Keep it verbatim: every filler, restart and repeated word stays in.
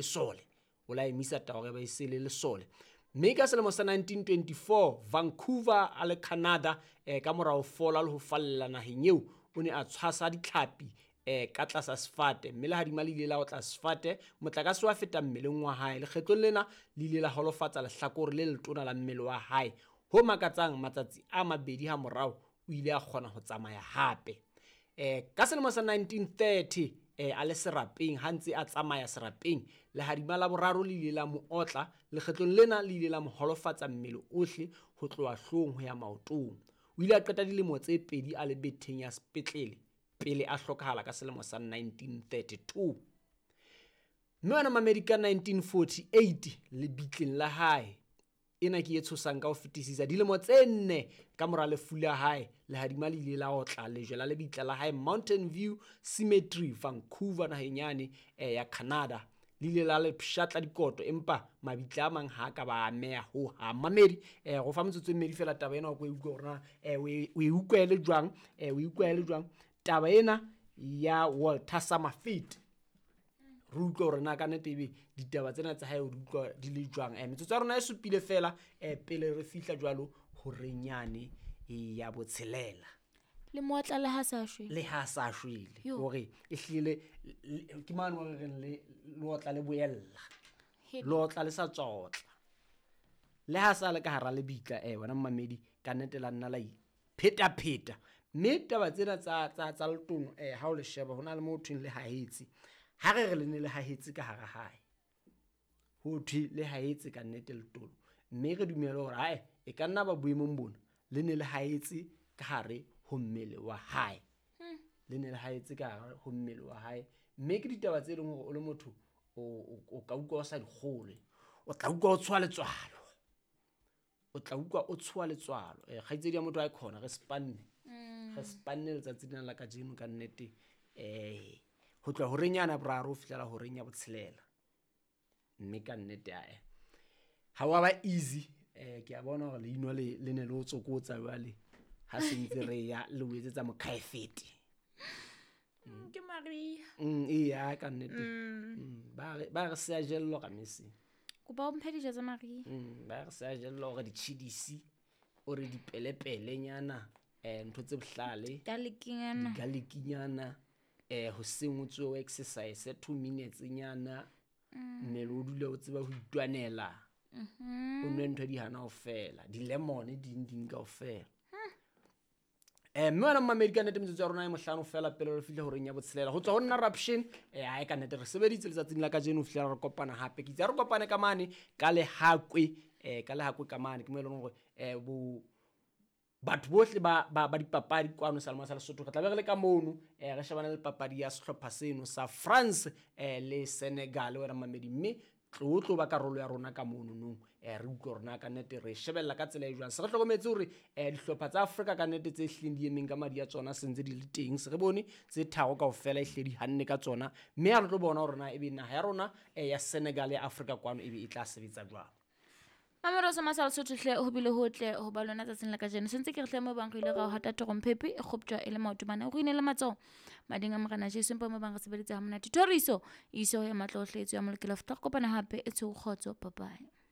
lesole. O la emisa taba hore e se le lesole. Mme ka selemo sa nineteen twenty-four Vancouver a le Canada, eh, ka mora ho fola le ho falla naheng eo, o ne a tshwasa ditlhapi, eh, ka tlasa sefate, mme lehadima le ile la otla sefate, motlakase wa feta mmeleng wa hae. Lekgetlong lena le ile la holofatsa lehlakore le letona la mmele wa hae. Ho makatsang, matsatsi a mabedi ha morao o ile a kgona ho tsamaya hape. Eh, ka selemo sa nineteen thirty, eh, a le serapeng, ha ntse a tsamaya serapeng, lehadima la boraro le ile la mo otla. Lekgetlong lena le ile la mo holofatsa mmele ohle ho tloha hloohong ho ya maotong. O ile a qeta dilemo tse pedi a le betheng ya sepetlele pele a hlokahala ka selemo sa nineteen thirty-two. Mme wena mamedi, ka nineteen forty-eight lebitleng la hae, ena ke e tshosang ka ho fetisisa, dilemo tse nne ka mora lefu la hae, lehadima le ile la otla lejwe la lebitla la hae Mountain View Cemetery, Vancouver, naheng yane, eh, ya Canada. Le ile la le pshatla dikoto, empa mabitla a mang ha a ka ba ameha hohang. Mamedi, eh, go fa metsotso e mmedi fela taba ena o ko e utlwe hore na, eh, o e, o e utlwele jwang, eh, o e utlwele jwang taba ena ya Walter Summerfield. Re utlwe hore na ka nnete ebe ditaba tsena tsa hae o di utlwa di le jwang. Eh, metsotso ya rona e supile fela, eh, pele re fihla jwalo horeng yane ya botshelela. Le mootla le ha sa shwele. Le ha sa shwele. Yo. Hore e hlile, le, ke mane hore re le, le otla le boella. He. Le otla le sa tswa otla. Le ha sa le ka hara lebitla, eh, wena mmamedi, ka nnete la nna la iphetapheta. Mme taba tsena tsa, tsa, tsa letono, eh, ha o le sheba, ho na le mo ho thweng le hahetse. Ha re re le ne le hahetse ka hara hae, ho thwe le hahetse ka nnete letono. Mme re dumele hore, ae, e ka nna ba boemong bona, le ne le hahetse ka hare ho mmele wa hae. Hmm. Le ne le hahetse ka hare ho mmele wa hae. Mme ke ditaba tse leng hore o le motho, o, o, o ka utlwa o sa di kgolwe. O tla utlwa o tshoha letswalo. O tla utlwa o tshoha letswalo. Eh, kgaitsedi ya motho ha e khona, re spanne. Hmm. Re spanne letsatsi lena la kajeno ka nnete. Eh, ho tloha horeng yana boraro ho fihlela horeng ya botshelela. Mme ka nnete, ae, ha wa ba easy. Eh, ke a bona hore leino le, le ne le o tsokotsa jwale ha se ntse re ya le o etsetsa mokhaefete. Mm, ke Maria. Mm, eya, ka nnete. Mm. Mm, ba re, ba re se a jellwa ka mese. Kopa o mphe dijo tsa Maria. Mm, ba re se a jellwa hore ditjhidisi, o re dipelepelenyana, eh, ntho tse bohlale. Garlic-nyana. Garlic-nyana. Eh, hoseng o tsohe o exercise two minutes nyana. Mm. Mmele o dule o tseba ho itwanela. Mm-hmm. O nwe ntho di hana kaofela, di-lemon ding ding kaofela. Hmm. Eh, mme wena mmamedi, ka nnete metsotso ya rona e mohlano fela pele re fihle horeng ya botshelela. Ho tswa ho nna Raption, eh, ae ka nnete re sebeditse letsatsing la kajeno ho fihlela re kopana hape. Ke itse ha re kopane ka mane ka Lehakwe, eh, ka Lehakwe ka mane, ke mo e leng hore, eh, bo batho bohle ba, ba, ba dipapadi kwano Salema sa Lesotho, re tla be re le ka mono, eh, re shebane le papadi ya sehlopha seno sa France, eh, le Senegal, wena mmamedi. Mme tlo tlo ba karolo ya rona ka mono nong, eh, re utlwe hore na ka nnete re shebella ka tsela e jwang. Se re hlokometse hore, eh, dihlopha tsa Afrika ka nnete tse hlileng di emeng ka madi a tsona se ntse di le teng. Se re bone tse tharo kaofela e hlile di hanne ka tsona, mme ha re tlo bona hore na ebe naha ya rona, eh, ya Senegal ya Afrika kwano ebe e tla sebetsa jwang. Mamelo sa Masala Sotho hle, ho bile hotle ho ba lona tsatsing la kajeno. Se ntse ke re hle mo bang re ile ra ho hata tromphepe e kgoptjwa e le maoto mane. Re ine le matsoho mading a Morena Jesu, empa mo bang re sebeditse ha monate. Thoriso, iso ya matla ohle, e tswe ya molokela. Re kopana hape, e tsho kgotso. Bye bye.